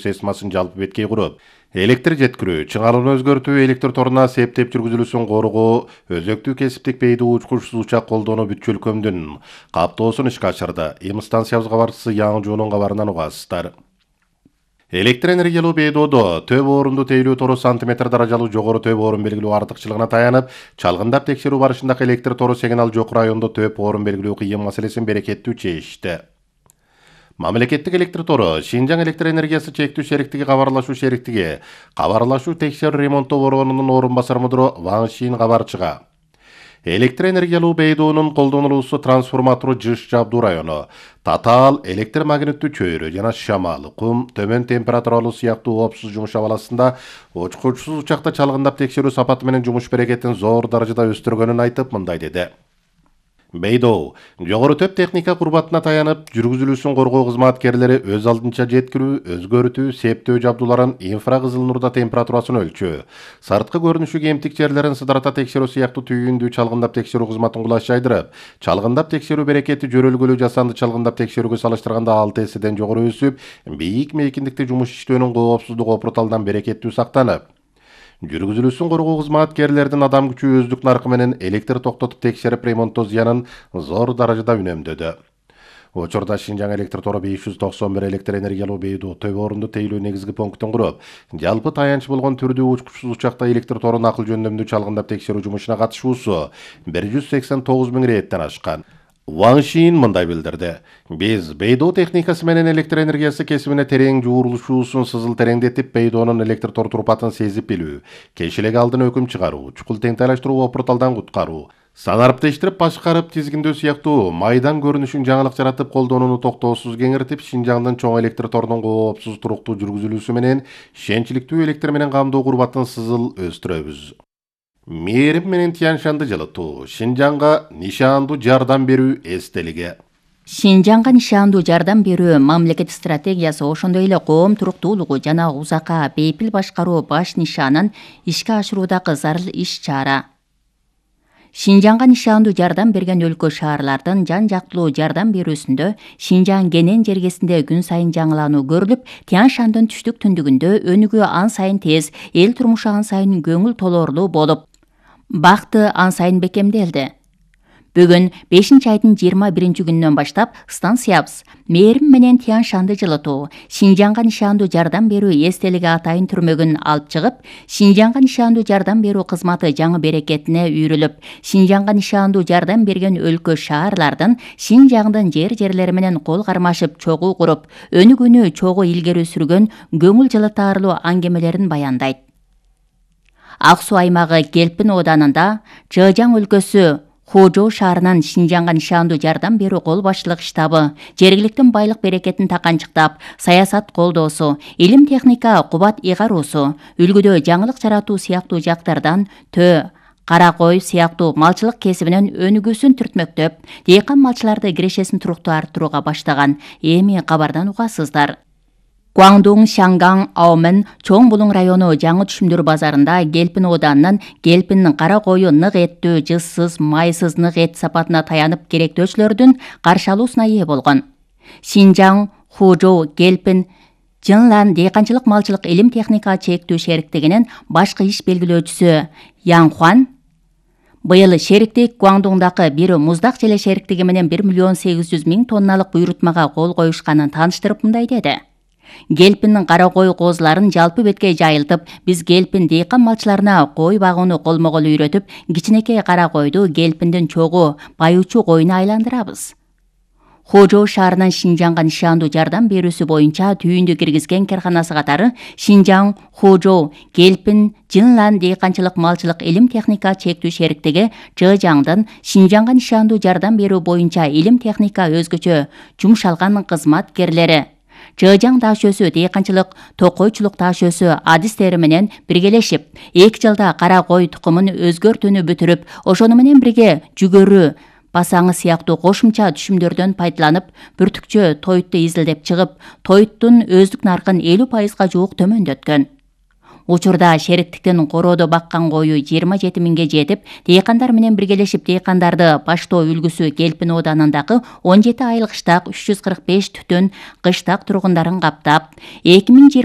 системасын жалпы беткей куруп, электр жеткирүү, чыңалууну өзгөртүү, электр торуна септеп жүргүзүлүүсүн коргоо, өзөктүү кесиптик бейди учкучсуз учак колдоону бүт өлкөмдүн каптоосун ишке ашырды. Эми станциябыз кабарчысы Яң Жуунун кабарынан угасыздар. Электр энергиялуу бейдоодо төп орунду тейлөө тору сантиметр даражалуу жогору төп орун белгилөө артыкчылыгына таянып, чалгындап текшерүү барышындагы электр тору сигнал жок райондо төп орун белгилөө кыйын маселесин берекеттүү чечишти. Мамлекеттик электр тору Шинжаң электр энергиясы чектүү шериктиги кабарлашуу текшерүү ремонттоо борборунун орун басар мудуру Ван Шин кабарчыга. Электр энергиялуу бейдоонун колдонулуусу трансформатору жыш жабдуу району, татаал электр магниттүү чөйрө жана шамал, кум, төмөн температуралуу сыяктуу оопсуз жумуш абаласында учкучсуз учакта чалгындап текшерүү сапаты менен жумуш берекетин зор даражада өстүргөнүн айтып, мындай деди. Бейдоо жогору төп техника курбатына таянып, жүргүзүлүүсүн коргоо кызматкерлери өз алдынча жеткирүү, өзгөртүү, септөө жабдууларын инфракызыл нурда температурасын өлчөө, сырткы көрүнүшү кемтик жерлерин сыдырата текшерүү сыяктуу түйүндүү чалгындап текшерүү кызматын кулаш жайдырып, чалгындап текшерүү берекети жөрөлгөлүү жасанды чалгындап текшерүүгө салыштырганда 6 эседен жогору өсүп, бийик мейкиндикте жумуш иштөөнүн коопсуздугу опурталдан берекеттүү сактанып, жүргүзүлүүсүн коргоо кызматкерлердин адам күчү өздүк наркы менен электр токтотуп текшерип ремонттоо зыянын зор даражада үнөмдөдү. Учурда Шинжаң электр тору 591 электр энергиялуу бейдоо төп орунду тейлөө негизги пунктун куруп, жалпы таянч болгон түрдүү учкучсуз учакта электр торун акыл жөндөмдүү чалгындап текшерүү жумушуна катышуусу 189 000 реттен ашкан. Ван Шин мындай билдирди. Биз бейдоо техникасы менен электр энергиясы кесибине терең жуурулушуусун сызыл тереңдетип, бейдоонун электр тор турпатын сезип билүү, кешилек алдын өкүм чыгаруу, чукул теңтайлаштыруу опурталдан куткаруу, санарптештирип башкарып тизгиндөө сыяктуу майдан көрүнүшүн жаңылык жаратып колдонууну токтоосуз кеңиртип, Шинжаңдын чоң электр торунун коопсуз туруктуу жүргүзүлүүсү менен ишенчиликтүү электр менен камдоо курбатын сызыл өстүрөбүз. Мээрим менен Тянь Шанды жылытуу, Шинжаңга нишандуу жардам берүү эстелиги. Шинжаңга нишандуу жардам берүү мамлекет стратегиясы, ошондой эле коом туруктуулугу жана узакка бейпил башкаруу баш нишанын ишке ашыруудагы зарыл иш-чара. Шинжаңга нишандуу жардам берген өлкө шаарлардын жан-жактылуу жардам берүүсүндө Шинжаң Генен жергесинде күн сайын жаңылануу көрүлүп, Тянь Шандын түштүк түндүгүндө өнүгүү ан сайын тез, эл турмушу ан сайын көңүл толоорлуу болуп, бакты ан сайын бекемделди. Бүгүн 5-айдын 21-күнүнөн баштап станциябыз Мээрим менен Тянь Шанды жылытуу, Шинжаңга нишандуу жардам берүү эстелиги атайын түрмөгүн алып чыгып, Шинжаңга нишандуу жардам берүү кызматы жаңы берекетине үйрүлүп, Шинжаңга нишандуу жардам берген өлкө шаарлардын Шинжаңдын жерлери менен кол кармашып чогуу куруп, өнүгүүнү чогуу илгери сүргөн көңүл жылытаарлуу аңгемелерин баяндайт. Ак Суу аймагы Гелпин ооданында Чжэжьяң өлкөсү Хужоу шаарынын Шинжаңга нишандуу жардам берүү кол башчылык штабы жергиликтин байлык берекетин таканчыктап, саясат колдоосу, илим техника кубат ыйгаруусу, үлгүдө жаңылык жаратуу сыяктуу жактардан кара кой сыяктуу малчылык кесибинен өнүгүүсүн түртмөктөп, дыйкан малчыларды кирешесин туруктуу арттырууга баштаган. Эми кабардан угасыздар. Гуандун, Шангаң, Аомен, Чоң Булуң району жаңы түшүмдөр базарында Гелпин ооданынын Гелпиндин кара кою нык эттүү, жызсыз, майсыз нык эт сапатына таянып керектөөчүлөрдүн каршы алуусуна ээ болгон. Шинжаң, Хужоу, Гелпин, Жынлан дыйканчылык малчылык илим техника чектүү шериктигинин башкы иш белгилөөчүсү Яң Хуан быйыл шериктик Гуандуңдагы бир муздак желе шериктиги менен 1 800 000 тонналык буйрутмага кол коюшканын тааныштырып мындай деди. Гелпиндин кара кой коозуларын жалпы бетке жайылтып, биз Гелпин дыйкан малчыларына кой багууну колмо-кол үйрөтүп, кичинекей кара койду Гелпиндин чогуу байучу коюна айландырабыз. Хожоу шаарынын Шинжаңга нишандуу жардам берүүсү боюнча түйүндү киргизген карханасы катары Шинжаң, Хожоу, Гелпин, Жынлан дыйканчылык малчылык илим техника чектүү шериктиги Чжэжьяңдын Шинжаңга нишандуу жардам берүү боюнча илим техника өзгөчө жумшалган кызматкерлери, Чжэжьяң таш өсү дыйканчылык, токойчулук таш өсү адистери менен биргелешип, 2 жылда кара кой тукумун өзгөртүүнү бүтүрүп, ошону менен бирге жүгөрү, басаңы сыяктуу кошумча түшүмдөрдөн пайдаланып, бүртүкчө тойтtu изилдеп чыгып, тоyттун өздүк наркын 50% жуук төмөндөткөн. Учурда шериктиктин короодо баккан кою 27 000ге жетип, дыйкандар менен биргелешип дыйкандарды баштоо үлгүсү Гелпин ооданындагы 17 айлык штак 345 түтүн кыштак тургундарын каптап, 2020